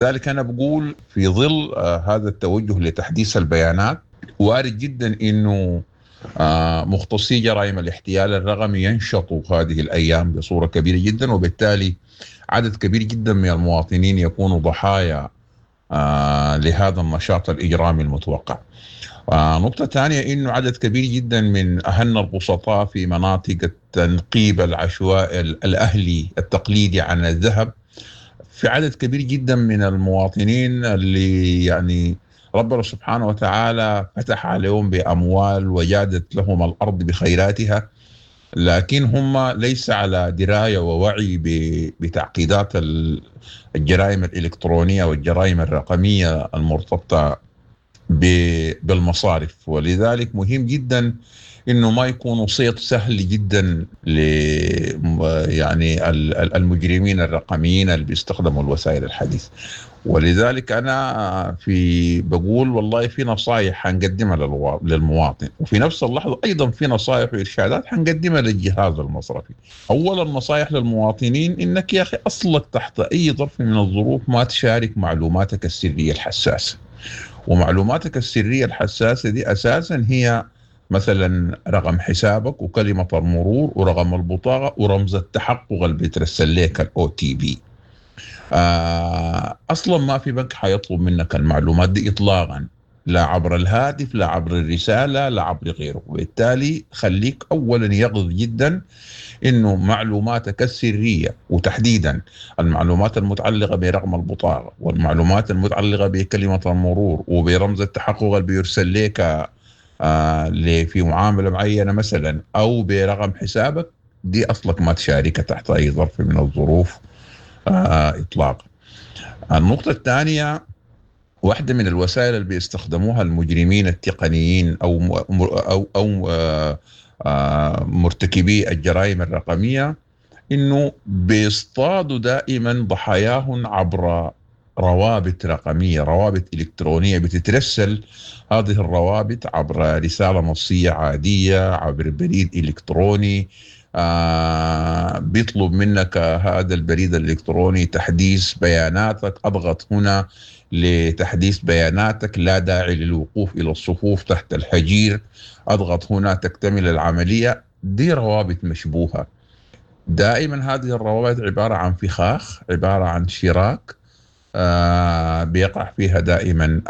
ذلك أنا بقول في ظل هذا التوجه لتحديث البيانات، وارد جدا أنه مختصي جرائم الاحتيال الرقمي ينشطوا هذه الأيام بصورة كبيرة جدا، وبالتالي عدد كبير جدا من المواطنين يكونوا ضحايا لهذا النشاط الإجرامي المتوقع. نقطة ثانية إنه عدد كبير جدا من أهلنا البسطاء في مناطق التنقيب العشوائي الأهلي التقليدي عن الذهب، في عدد كبير جدا من المواطنين اللي يعني ربنا سبحانه وتعالى فتح عليهم بأموال وجادت لهم الأرض بخيراتها، لكن هم ليس على دراية ووعي بتعقيدات الجرائم الإلكترونية والجرائم الرقمية المرتبطة بالمصارف. ولذلك مهم جدا إنه ما يكون صيد سهل جدا ل يعني المجرمين الرقميين اللي بيستخدموا الوسائل الحديثة. ولذلك أنا في بقول والله في نصائح حنقدمها للمواطن، وفي نفس اللحظة أيضا في نصائح وإرشادات حنقدمها للجهاز المصرفي. أولا نصائح للمواطنين إنك يا أخي أصلك تحت أي ظرف من الظروف ما تشارك معلوماتك السرية الحساسة، ومعلوماتك السرية الحساسة دي أساسا هي مثلا رقم حسابك وكلمة المرور ورقم البطاقة ورمز التحقق اللي بيترسل لك ال OTP. أصلا ما في بنك حيطلب منك المعلومات دي إطلاقا، لا عبر الهاتف لا عبر الرسالة لا عبر غيره. وبالتالي خليك أولا يقظ جدا إنه معلوماتك السرية وتحديدا المعلومات المتعلقة برقم البطاقة والمعلومات المتعلقة بكلمة المرور وبرمز التحقق اللي بيرسل لك في معاملة معينة مثلا أو برقم حسابك، دي أصلك ما تشاركها تحت أي ظرف من الظروف إطلاقا. النقطة الثانية، واحدة من الوسائل اللي بيستخدموها المجرمين التقنيين أو مرتكبي الجرائم الرقمية إنه بيصطادوا دائما ضحاياهم عبر روابط رقمية، روابط إلكترونية بتترسل هذه الروابط عبر رسالة نصية عادية، عبر بريد إلكتروني. بيطلب منك هذا البريد الإلكتروني تحديث بياناتك، أضغط هنا لتحديث بياناتك، لا داعي للوقوف إلى الصفوف تحت الحجير، أضغط هنا تكتمل العملية. دي روابط مشبوهة. دائما هذه الروابط عبارة عن فخاخ، عبارة عن شراك بيقع فيها دائما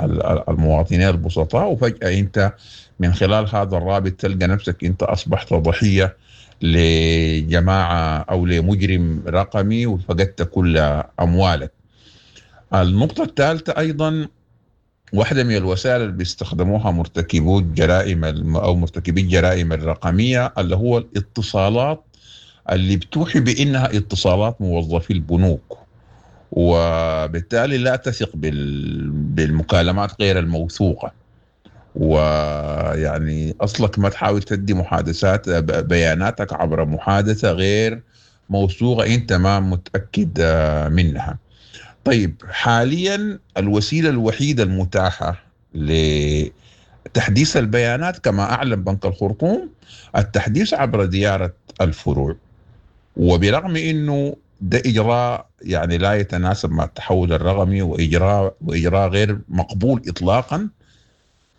المواطنين البسطاء، وفجأة أنت من خلال هذا الرابط تلقى نفسك أنت أصبحت ضحية لجماعة أو لمجرم رقمي وفقدت كل أموالك. النقطة الثالثة أيضا، واحدة من الوسائل اللي بيستخدموها مرتكبو الجرائم أو مرتكبي الجرائم الرقمية اللي هو الاتصالات اللي بتوحي بأنها اتصالات موظفي البنوك، وبالتالي لا تثق بالمكالمات غير الموثوقة. ويعني أصلك ما تحاول تدي محادثات بياناتك عبر محادثة غير موثوقة أنت ما متأكد منها. طيب حاليا الوسيلة الوحيدة المتاحة لتحديث البيانات كما أعلن بنك الخرطوم التحديث عبر زيارة الفروع، وبرغم أنه ده إجراء يعني لا يتناسب مع التحول الرقمي وإجراء غير مقبول إطلاقا،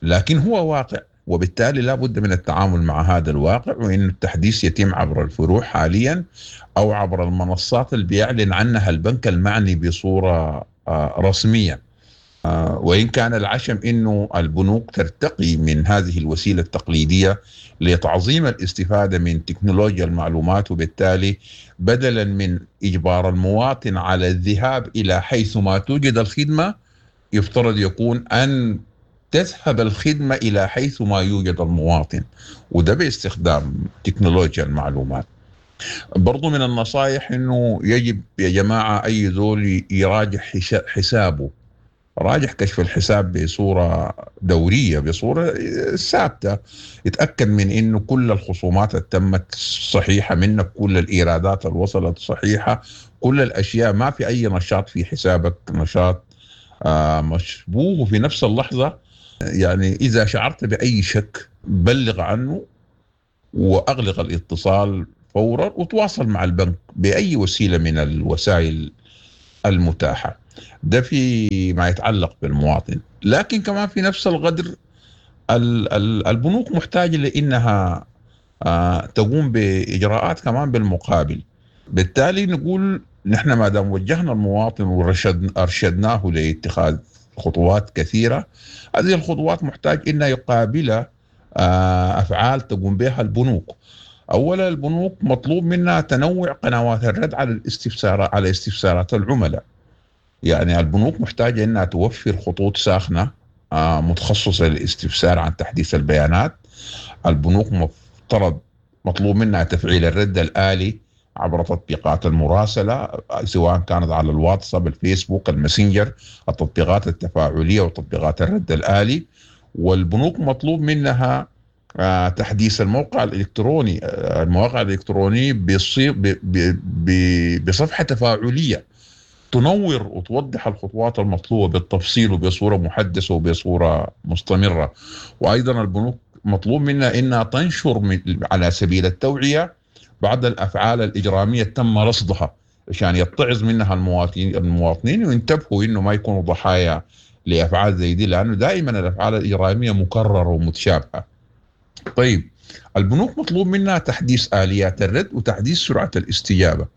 لكن هو واقع، وبالتالي لا بد من التعامل مع هذا الواقع، وإن التحديث يتم عبر الفروع حاليا أو عبر المنصات اللي بيعلن عنها البنك المعني بصورة رسمية. وإن كان العشم إنه البنوك ترتقي من هذه الوسيلة التقليدية لتعظيم الاستفادة من تكنولوجيا المعلومات، وبالتالي بدلا من إجبار المواطن على الذهاب إلى حيث ما توجد الخدمة، يفترض يكون أن تذهب الخدمة إلى حيث ما يوجد المواطن، وده باستخدام تكنولوجيا المعلومات. برضو من النصائح إنه يجب يا جماعة أي زول يراجع حسابه، راجع كشف الحساب بصورة دورية، بصورة ثابتة، يتأكد من إنه كل الخصومات اللي تمت صحيحة منك، كل الإيرادات اللي وصلت صحيحة، كل الأشياء، ما في أي نشاط في حسابك نشاط مشبوه. وفي نفس اللحظة يعني إذا شعرت بأي شك بلغ عنه وأغلق الاتصال فورا، وتواصل مع البنك بأي وسيلة من الوسائل المتاحة. ده في ما يتعلق بالمواطن. لكن كمان في نفس القدر البنوك محتاجة لإنها تقوم بإجراءات كمان بالمقابل. بالتالي نقول نحن ما دام وجهنا المواطن وأرشدناه لاتخاذ خطوات كثيرة، هذه الخطوات محتاج إنها يقابلها أفعال تقوم بها البنوك. أولا البنوك مطلوب منها تنوع قنوات الرد على استفسارات العملاء. يعني البنوك محتاجة إنها توفر خطوط ساخنة متخصصة للاستفسار عن تحديث البيانات. البنوك مطلوب منها تفعيل الرد الآلي عبر تطبيقات المراسلة، سواء كانت على الواتساب، الفيسبوك، الماسنجر، التطبيقات التفاعلية وتطبيقات الرد الآلي. والبنوك مطلوب منها تحديث الموقع الإلكتروني، المواقع الإلكترونية بصفحة تفاعلية تنور وتوضح الخطوات المطلوبة بالتفصيل وبصورة محدثة وبصورة مستمرة. وأيضا البنوك مطلوب منها إنها تنشر على سبيل التوعية بعض الأفعال الإجرامية تم رصدها عشان يتعظ منها المواطنين وينتبهوا إنه ما يكونوا ضحايا لأفعال زي دي، لأنه دائما الأفعال الإجرامية مكررة ومتشابهة. طيب البنوك مطلوب منها تحديث آليات الرد وتحديث سرعة الاستجابة،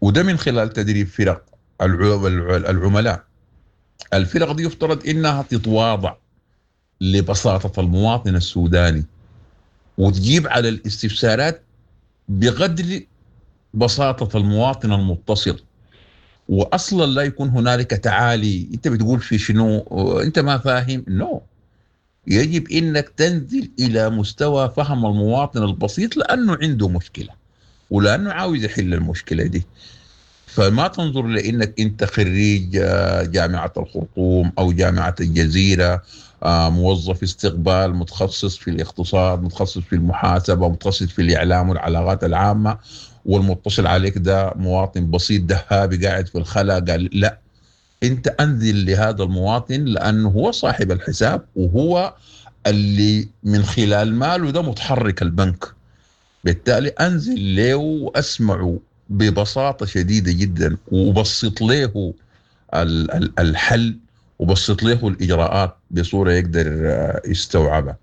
وده من خلال تدريب فرق العملاء. الفرق دي يفترض إنها تتواضع لبساطة المواطن السوداني وتجيب على الاستفسارات بقدر بساطة المواطن المتصل، وأصلا لا يكون هنالك تعالي، أنت بتقول في شنو، أنت ما فاهم. نو، يجب إنك تنزل إلى مستوى فهم المواطن البسيط، لأنه عنده مشكلة ولأنه عاوز يحل المشكلة دي. فما تنظر لإنك أنت خريج جامعة الخرطوم أو جامعة الجزيرة، موظف استقبال متخصص في الاقتصاد، متخصص في المحاسبة، متخصص في الإعلام والعلاقات العامة، والمتصل عليك ده مواطن بسيط دهابي قاعد في الخلا. قال لا، أنت أنزل لهذا المواطن لأنه هو صاحب الحساب وهو اللي من خلال ماله ده متحرك البنك. بالتالي أنزل له وأسمعه ببساطة شديدة جدا، وبسط له الحل وبسط له الإجراءات بصورة يقدر يستوعبها.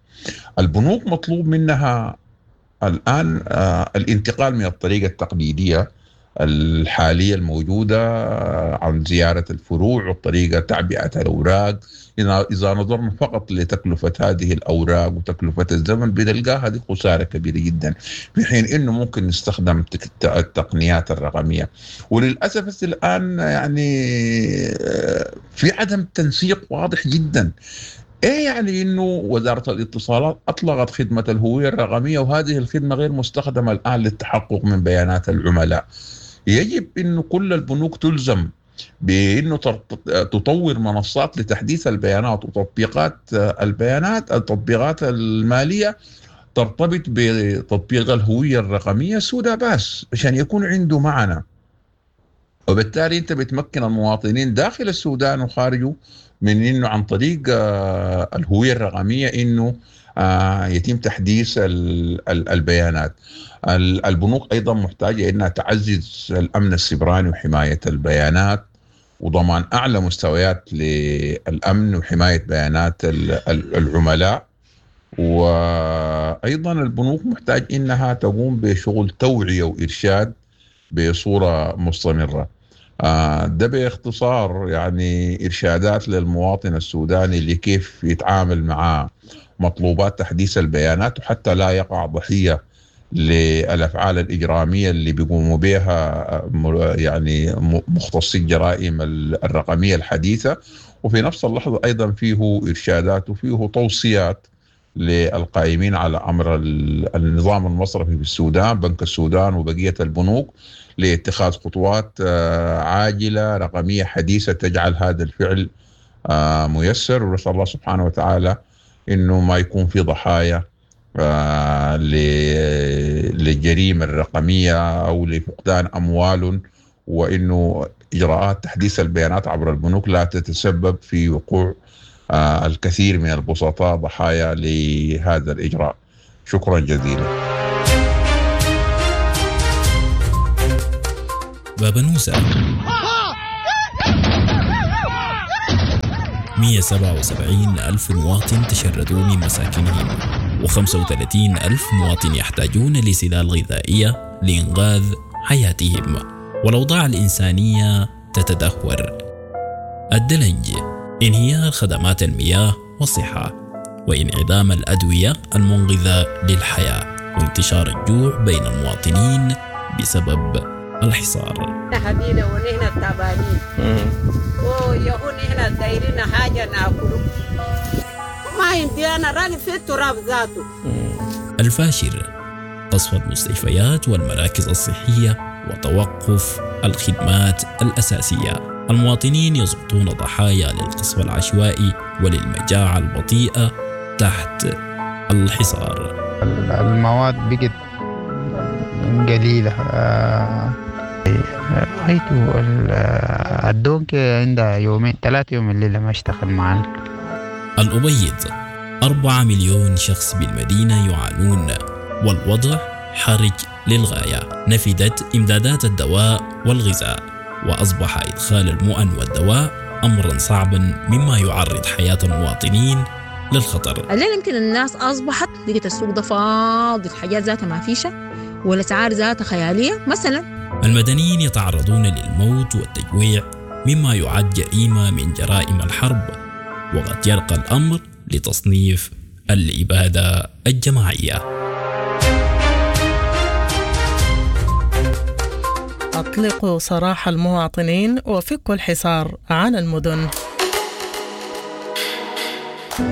البنوك مطلوب منها الآن الانتقال من الطريقة التقليدية الحالية الموجودة عن زيارة الفروع والطريقة تعبئة الأوراق. إذا نظرنا فقط لتكلفة هذه الأوراق وتكلفة الزمن بنلقاها هذه خسارة كبيرة جدا، في حين إنه ممكن نستخدم التقنيات الرقمية. وللأسف الآن يعني في عدم تنسيق واضح جدا. إيه يعني إنه وزارة الاتصالات أطلقت خدمة الهوية الرقمية وهذه الخدمة غير مستخدمة الآن للتحقق من بيانات العملاء؟ يجب إنه كل البنوك تلزم بإنه تطور منصات لتحديث البيانات وتطبيقات البيانات. التطبيقات المالية ترتبط بتطبيق الهوية الرقمية سودا باس عشان يكون عنده معنى، وبالتالي أنت بتمكن المواطنين داخل السودان وخارجه من إنه عن طريق الهوية الرقمية إنه يتم تحديث البيانات. البنوك أيضا محتاجة إنها تعزز الأمن السيبراني وحماية البيانات وضمان أعلى مستويات للأمن وحماية بيانات العملاء. وأيضا البنوك محتاج إنها تقوم بشغل توعية وإرشاد بصورة مستمرة. ده باختصار يعني إرشادات للمواطن السوداني لكيف يتعامل مع مطلوبات تحديث البيانات وحتى لا يقع ضحية للأفعال الإجرامية اللي بيقوموا بها يعني مختصي الجرائم الرقمية الحديثة. وفي نفس اللحظة أيضا فيه إرشادات وفيه توصيات للقائمين على أمر النظام المصرفي في السودان، بنك السودان وبقية البنوك، لاتخاذ خطوات عاجلة رقمية حديثة تجعل هذا الفعل ميسر. ونسأل الله سبحانه وتعالى إنه ما يكون في ضحايا للجريمة الرقمية أو لفقدان أموال، وإنه إجراءات تحديث البيانات عبر البنوك لا تتسبب في وقوع الكثير من البسطاء ضحايا لهذا الإجراء. شكرا جزيلا. بابنوسة. 177 ألف مواطن تشردوا من مساكنهم، و35 ألف مواطن يحتاجون لسلال غذائية لإنقاذ حياتهم، والأوضاع الإنسانية تتدهور. الدلنج: انهيار خدمات المياه والصحة، وانعدام الأدوية المنقذة للحياة، وانتشار الجوع بين المواطنين بسبب الحصار. حبينا ونحن تعبانين ويهو نحن دايرين حاجة ناكله، ما عندي أنا راجل في التراب ذاته. الفاشر: قصف المستشفيات والمراكز الصحية وتوقف الخدمات الأساسية. المواطنين يسقطون ضحايا للقصف العشوائي وللمجاعة البطيئة تحت الحصار. المواد بقت قليلة، رأيت الدونك عندها يومين 3 يوم الليلة ما اشتغل معنا. الأبيض: 4 مليون شخص بالمدينة يعانون، والوضع حرج للغاية. نفدت إمدادات الدواء والغذاء، وأصبح إدخال المؤن والدواء أمرا صعبا، مما يعرض حياة المواطنين للخطر. الليلة يمكن الناس أصبحت لقيت السوق ده فاضي، الحاجات ذاتها ما فيشة والأسعار ذاتها خيالية. مثلا المدنيين يتعرضون للموت والتجويع، مما يعد جريمة من جرائم الحرب، وقد يرقى الأمر لتصنيف الإبادة الجماعية. أطلقوا سراح المواطنين وفكوا الحصار عن المدن.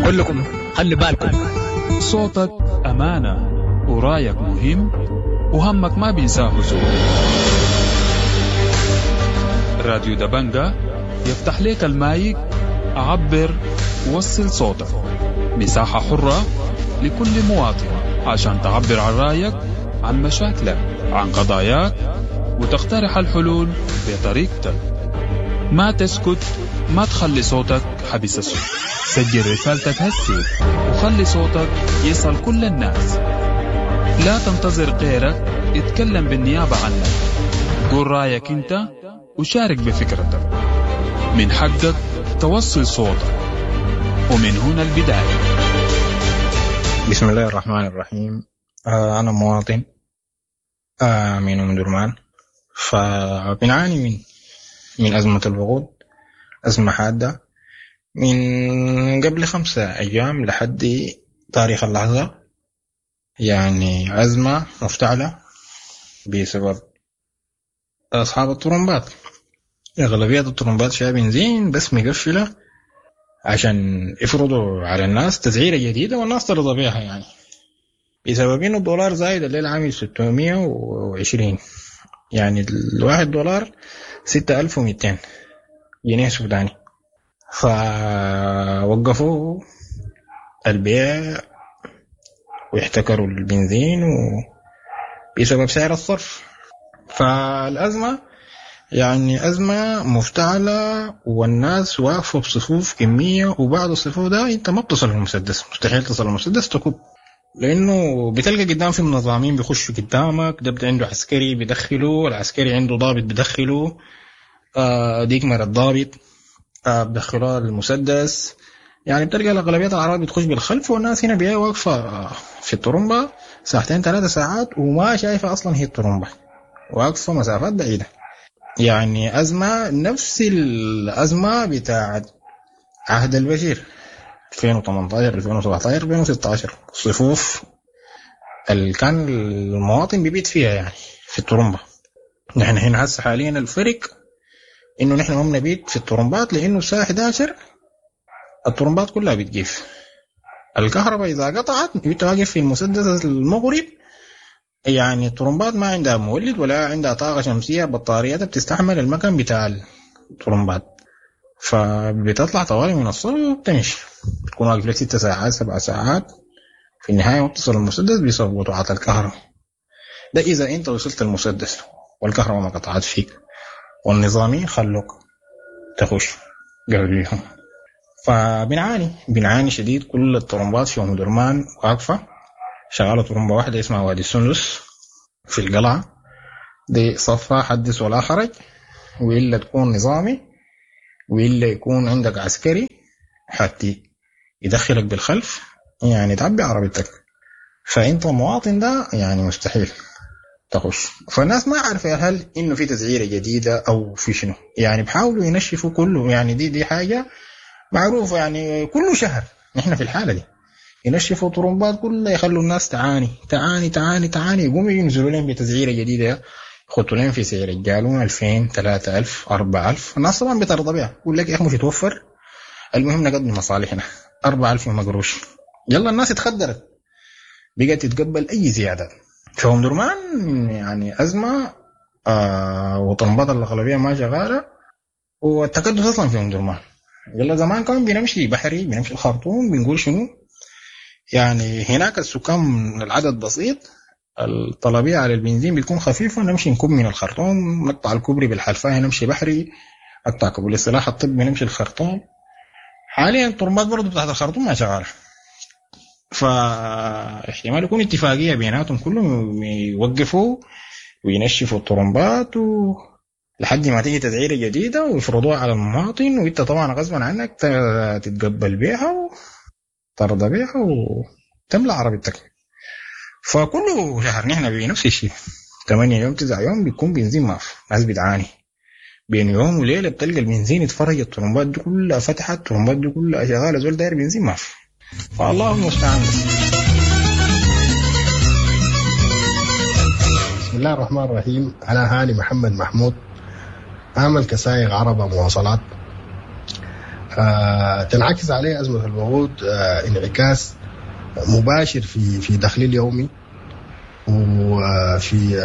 كلكم خلي بالكم، صوتك أمانة ورايك مهم وهمك ما بينساه زول. راديو دبنجة يفتح لك المايك، عبر وصل صوتك، مساحة حرة لكل مواطن عشان تعبر عن رأيك، عن مشاكلك، عن قضاياك، وتقترح الحلول بطريقتك. ما تسكت، ما تخلي صوتك حبس الصوت. سجل رسالتك هسي وخلي صوتك يصل كل الناس. لا تنتظر غيرك يتكلم بالنيابة عنك. قول رأيك انت وشارك بفكرتك. من حقك توصل صوتك، ومن هنا البداية. بسم الله الرحمن الرحيم. أنا مواطن من أم درمان، فبنعاني من أزمة الوقود، أزمة حادة من قبل 5 أيام لحد تاريخ اللحظة، يعني أزمة مفتعلة بسبب أصحاب الطرمبات. أغلبية الطرمبات فيها بنزين بس مقفلة عشان يفرضوا على الناس تسعيرة جديدة والناس ترضى بيها، يعني بسبب إنه الدولار زايد الليلة عامل 620، يعني الواحد دولار 6200 جنيه سوداني. فوقفوا البيع ويحتكروا البنزين بسبب سعر الصرف. فالأزمة يعني أزمة مفتعلة، والناس واقفة بصفوف كمية، وبعد الصفوف ده أنت ما بتصل المسدس، مستحيل تصل المسدس تكب، لأنه بتلقى قدام في منظمين بيخشوا قدامك، ده عنده عسكري بيدخله، العسكري عنده ضابط بيدخله، ديك مرة الضابط بدخلوها المسدس. يعني بتلقى الأغلبية العرب بتخش بالخلف، والناس هنا بيها واقفة في الطرمبة 2-3 ساعات وما شايفة أصلا هي الطرمبة، واقفة مسافات بعيدة. يعني أزمة نفس الأزمة بتاعت عهد البشير 2018 2017 2016، الصفوف اللي كان المواطن بيبيت فيها يعني في الطرمبة. نحن هنا هسه حاليا الفرق إنه نحن ما بنبيت في الطرمبات، لأنه الساعة 11 الطرمبات كلها بتجيف. الكهرباء إذا قطعت أنت واقف في المسدس المغرب، يعني الطرمبات ما عندها مولد ولا عندها طاقة شمسية، بطارياتها بتستحمل المكان بتاع الطرمبات، فبتطلع طوالي من الصلب وبتمشي، بتكون واقف لك 6 ساعات 7 ساعات، في النهاية ما بتصل المسدس بسبب قطعات الكهرباء. ده إذا أنت وصلت المسدس والكهرباء ما قطعت فيك والنظامي خلوك تخش قبليهم. فبنعاني بنعاني شديد. كل الطرمبات في أم درمان واقفة، شغالة طرمبة واحدة اسمها وادي السندس في القلعة، دي صفة حدث ولا حرج، وإلا تكون نظامي وإلا يكون عندك عسكري حتى يدخلك بالخلف يعني تعبي عربيتك. فانت مواطن ده يعني مستحيل تخش. فالناس ما عارفه هل انه في تسعيره جديدة او في شنو، يعني بحاولوا ينشفوا كله. يعني دي حاجة معروفة، يعني كل شهر نحن في الحالة دي ينشفوا طرمبات كلها، يخلوا الناس تعاني تعاني تعاني تعاني، يقوموا ينزلوا لهم بتسعيره جديدة، يخطوا لهم في سعر الجالون 2000 3000 4000. الناس طبعا بترضى بها، يقول لك يا اخي مش يتوفر، المهم نقضي مصالحنا 4000 مقروش. يلا الناس اتخدرت، بقت تتقبل اي زيادات. فهم درمان يعني ازمة، وطرمبات الاغلبية ما شغالة، والتكدس اصلا في ام درمان. يلا زمان كان بنمشي بحري، بنمشي الخرطوم، بنقول شنو يعني هناك السكان العدد بسيط، الطلبية على البنزين بتكون خفيفة، نمشي نكب من الخرطوم، نقطع الكوبري بالحلفاية نمشي بحري، نقطع كوبري السلاح الطبي نمشي الخرطوم. حاليا الطرمبات برضه بتاعت الخرطوم ما شغالة، فاحتمال يكون اتفاقية بيناتهم كلهم يوقفوا وينشفوا الطرمبات لحد ما تيجي تسعيرة جديدة ويفرضوها على المواطن، وانت طبعا غصبا عنك تتقبل بيها وترضى بيها وتملى عربيتك. فكل شهر نحن بنفس الشيء، 8 يوم 9 يوم بيكون بنزين ما في، ناس بتعاني بين يوم وليلة بتلقى البنزين يتفرج، الطرمبات دي كلها فتحت، الطرمبات دي كلها شغالة، زول داير بنزين ما في. فالله المستعان. بسم الله الرحمن الرحيم. أنا هاني محمد محمود، أعمل كسائق عربة مواصلات. تنعكس عليه أزمة الوقود انعكاس مباشر في دخلي اليومي، وفي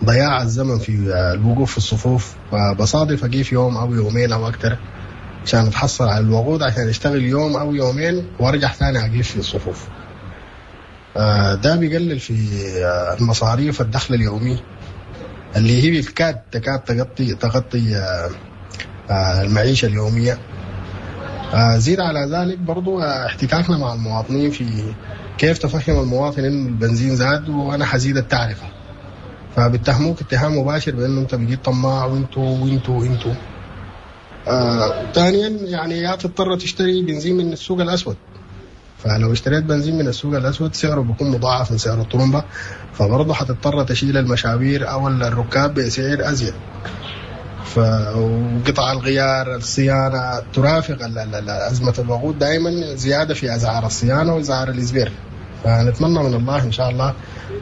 ضياع الزمن في الوقوف في الصفوف. فبصادف أقيف يوم أو يومين أو أكثر عشان أتحصل على الوقود، عشان أشتغل يوم أو يومين وأرجع ثاني أقيف في الصفوف. ده بيقلل في المصاريف الدخل اليومي اللي هي بالكاد تكاد تغطي المعيشة اليومية. زيد على ذلك برضو احتكاكنا مع المواطنين في كيف تفهم المواطن إنه البنزين زاد وأنا حزيد التعرفة، فبتهموك اتهام مباشر بأنه أنت بقيت طماع وانتو وانتو وانتو. ثانيا يعني يا تضطر تشتري بنزين من السوق الأسود، فلو اشتريت بنزين من السوق الأسود سعره بيكون مضاعف من سعر الطرمبة، فبرضه حتضطر تشيل المشاوير أو الركاب بسعر أزيد. وقطع الغيار، الصيانة، ترافق أزمة الوقود دائما زيادة في أسعار الصيانة وأسعار الإزبير. فنتمنى من الله إن شاء الله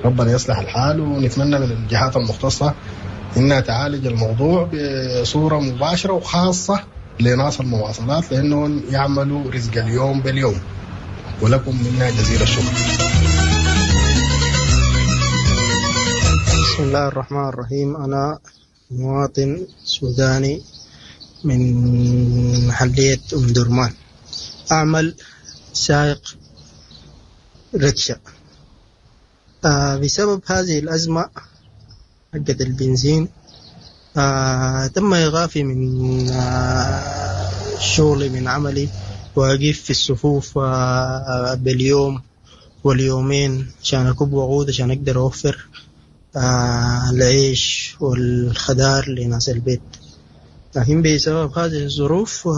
ربنا يصلح الحال، ونتمنى من الجهات المختصة إنها تعالج الموضوع بصورة مباشرة وخاصة لناس المواصلات، لأنهم يعملوا رزق اليوم باليوم. ولكم منا جزيل الشكر. بسم الله الرحمن الرحيم. أنا مواطن سوداني من محلية أم درمان، أعمل سائق ركشة. بسبب هذه الأزمة حقت البنزين تم إيقافي من شغلي من عملي، وأقف في الصفوف باليوم واليومين عشان أكب وقود عشان أقدر أوفر العيش والخضار لناس البيت. لكن بسبب هذه الظروف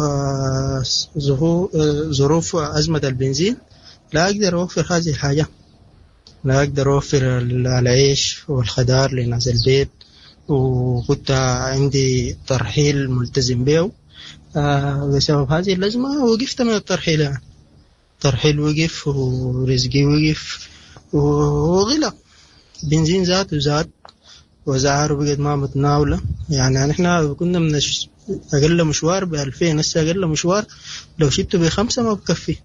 ظروف أزمة البنزين لا أقدر أوفر هذه الحاجة، لا أقدر أوفر العيش والخضار لناس البيت، وكنت عندي ترحيل ملتزم به. بسبب هذه الأزمة وقفت من الترحيل، يعني الترحيل وقف ورزقي وقف وغلى، بنزين زاد وزاد وأسعاره بقت ما متناولة. يعني نحن كنا من أقل مشوار ب2000، هسه أقل مشوار لو شلته ب5 ما بكفي،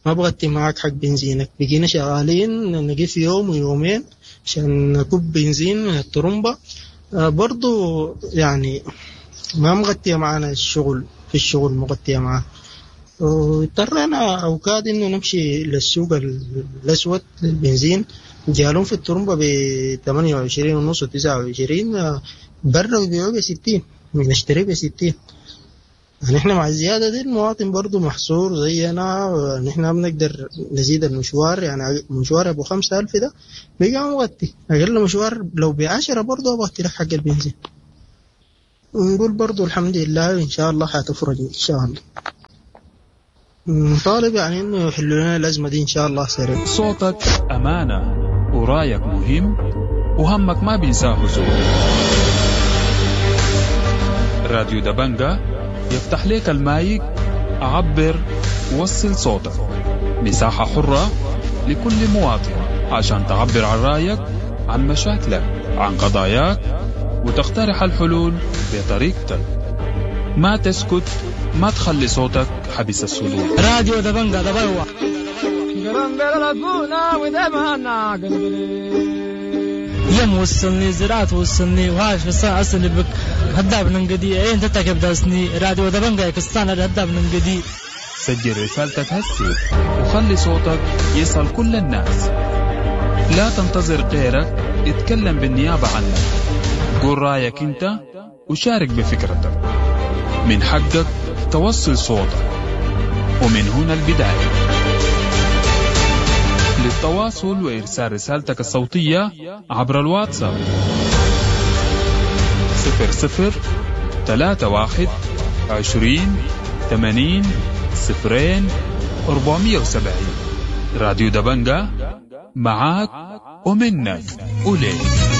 ما بغطي معك حق بنزينك. بقينا شغالين نقف يوم ويومين عشان نكب بنزين من الطرمبة، برضو يعني ما مغطية معنا الشغل، في الشغل مغطية معنا. واضطرينا أوقات إنه نمشي للسوق الأسود للبنزين، جالون في الطرمبة ب28.5 و29، برا بيبيعوه ب60، بنشتريه ب60. يعني احنا مع الزيادة دي المواطن برضو محصور زينا، نحن بنقدر نزيد المشوار. يعني مشوار ابو 5000 ده بقى مغطي، اقل مشوار لو ب10 برضو ابغطي لك حق البنزين. ونقول برضو الحمد لله، ان شاء الله حتفرج ان شاء الله. نطالب يعني إنه يحلوا لنا الأزمة دي إن شاء الله سريع. صوتك أمانة ورايك مهم وهمك ما بينساه زول. راديو دبنجا يفتح لك المايك، عبر وصل صوتك. مساحة حرة لكل مواطن عشان تعبر عن رأيك، عن مشاكلك، عن قضاياك، وتقترح الحلول بطريقتك. ما تسكت، ما تخلي صوتك حبس الصدور. راديو دبنجا دبلوة. يم وصلني زراعة وصلني وهاش في الساعة أصلي بك هداب ننقدي إيه انت تكب داسني راديو دبنجا يكستان هداب ننقدي. سجل رسالتك هسي وخلي صوتك يصل كل الناس. لا تنتظر غيرك يتكلم بالنيابة عنك. قول رايك انت وشارك بفكرتك. من حقك توصل صوتك، ومن هنا البداية. للتواصل وإرسال رسالتك الصوتية عبر الواتساب 00 31 20 80 0 470. راديو دبنجا معاك ومنك وليك.